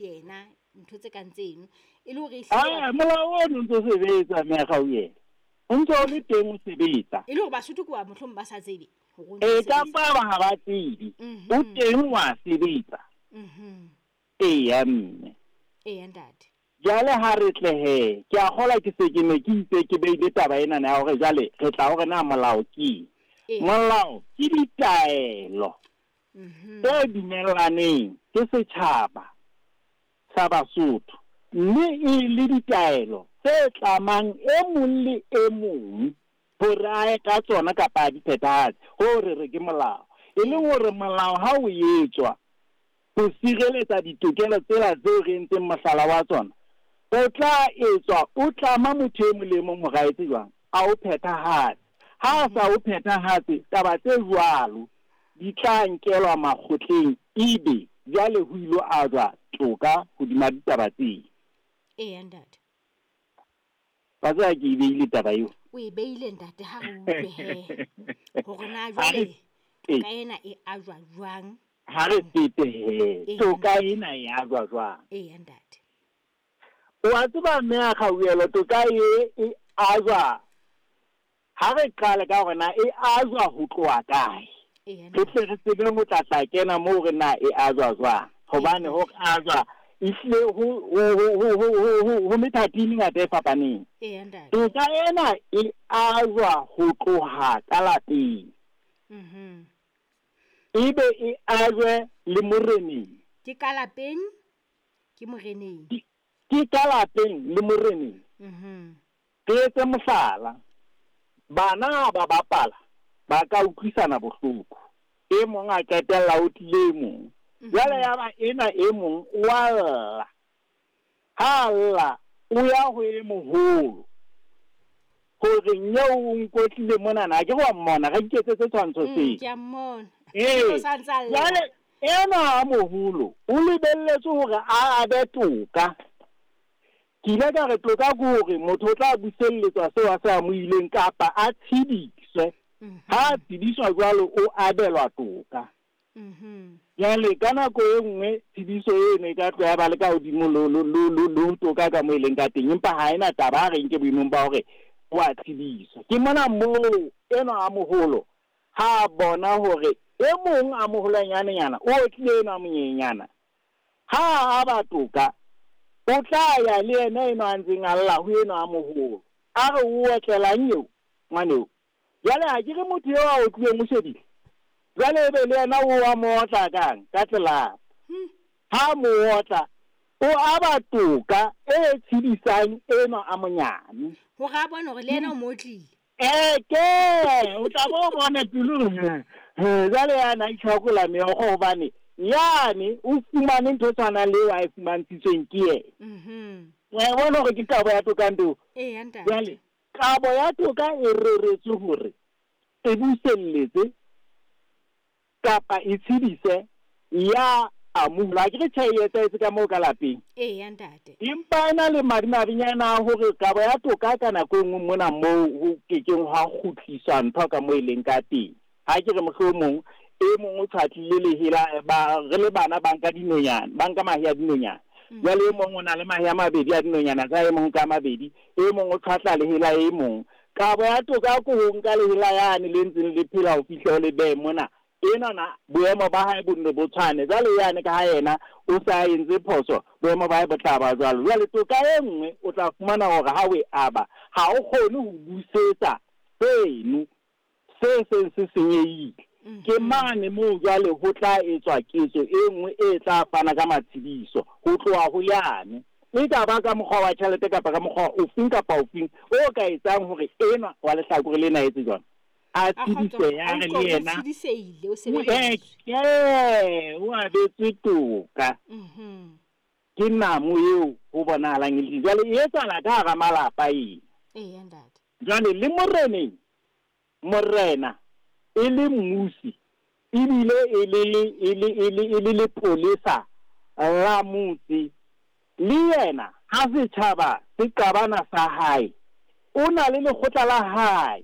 Yena ntho tse kang tseno e le hore e hlile Ah, molao ono o ntso sebetsa mme Kgauhelo. O ntso o le teng o sebetsa. E le hore Basotho ke wa mohlomong ba sa tsebe hore o ntso E sebetsa. kampa ba ha ba tsebe. O teng wa sebetsa. Eya mme. Eya ntate. Jwale ha re tle he, ke a kgolwa ke se ke ne ke itse ke beile taba enana ya hore jwale re tla hore na molao ke eng. Molao ke ditaelo tse dumellaneng ke setjhaba sa Basotho, mme e le ditaelo tse tlamang e mong le e mong hore a ye ka tsona kapa a di phethahatse. Hoo re re ke molao. E leng hore molao ha o etswa ho sireletsa ditokelo tsela tseo re entseng mohlala wa tsona, o tla etswa o tlama motho e mong le e mong hore a etse jwang? A o phethahatse. Ha a sa o phethahatse, taba tse jwalo di tla nkelwa makgotleng ebe jwale ho ilo ajwa toka hodima ditaba tseo. Eya ntate. Wa tseba ke e beile taba eo. O e beile ntate, ha re utlwe he hore na Ha re jwale toka ena e ajwa jwang. Ha re fete he, Eya, toka ntate. ena e ajwa jwang. Eya ntate. Wa tseba mme a Kgauhelo, toka e e ajwa, ha re qale ka hore na e ajwa ho tloha kae. Eya Re ntate. tle re tsebe ho tla tla kena moo re na e ajwa jwang. Hobane ho ajwa ehlile ho methati e mengata e fapaneng. Eya ntate. Toka ena e ajwa ho tloha ka lapeng. Ebe e ajwe le moreneng. Ke ka lapeng, ke moreneng. Ke ka lapeng le moreneng. Re etse mohlala. Bana ha ba bapala, ba ka utlwisana bohloko. E mong a qetella o tlile e mong. Jwale ya ba ena e mong o a lla. Ha a lla, o ya ho e moholo. Hore nyeo o nkotlile monana, ha ke re wa mmona, re iketsetse tshwantsho seo. Ke a mmona. Ee. O sa ntse a lla. Jwale enwa a moholo o lebelletse hore a abe toka. Ke ile ka re toka ke hore motho o tla buselletswa seo a se amohileng kapa a tshediswe. Ha a tshediswa jwalo o abelwa toka. Jwale ka nako e nngwe tshediso eno e ka tloha ya ba le ka hodimo le ho toka ka moo e leng ka teng, empa ha ena taba, ha re nke boemong ba hore o a tshediswa. Ke mona moo enwa a moholo ha a bona hore e mong a moholwanyanenyana o otlile enwa a monyenyana, ha a aba toka o tla ya le yena enwa a ntseng a lla ho enwa a moholo, a re o otlelang eo ngwaneo. Jwale ha ke re motho eo a otlileng o shebile, jwale ebe le yena o a mo otla kang ka tlelapa. Ha mo otla o aba toka e tshedisang enwa a monyane, Hore a bone hore le yena o mo otlile. Eke o tla bo bona pelo hore, he, jwale yana a itlhakola meokgo hobane yane o fumane ntho e tshwanang le eo a e fumantshitsweng ke yena. Wa e bona hore ke kabo ya toka ntho? Eya ntate. Jwale kabo ya toka e reretswe hore e buselletse kapa e tshedise ya amohela. Ha ke re tjhe e etsahetse ka moo ka lapeng. Eya ntate. Empa e na le madimabenyana a hore kabo ya toka ka nako e nngwe mona moo ho kekeng hwa kgutliswa ntho ka moo e leng ka teng. Ha ke re mohlomong e mong o tshwatlile lehela, ba re le bana ba nka dinonyana, ba nka mahe a dinonyana. Jwale e mong o na le mahe a mabedi a dinonyana tsa e mong ka mabedi, e mong o tshwatla lehela e mong. Kabo ya toka ke ho nka lehela yane le ntseng le phela ho fihla o le behe mona. Enwa na boemo ba hae bo nne bo tshwane. Jwale yane ka ha yena o sa entse phoso, boemo ba hae bo tla ba jwalo. Jwale toka e nngwe o tla fumana hore ha o e aba, ha o kgone ho busetsa seno se seng se senyehile. Ke mane moo jwale ho tla etswa ketso e nngwe e tla fana ka matshediso ho tloha ho yane. E ka ba ka mokgwa wa tjhelete kapa ka mokgwa ofeng kapa ofeng o ka etsang hore enwa wa lehlakore lena a etse jwang, a A tshedise kgotso, ya a re utlwe le o yena. tshedisehile, o O sebedisitswe. eke, o abetswe toka. Ke namo eo ho bonahalang e le. Jwale e etsahala ka hara malapa ena. Eya ntate. Jwale le moreneng, morena e le mmusi ebile e le lepolesa la motse, le yena ha setjhaba se qabana sa hae, o na le lekgotla la hae.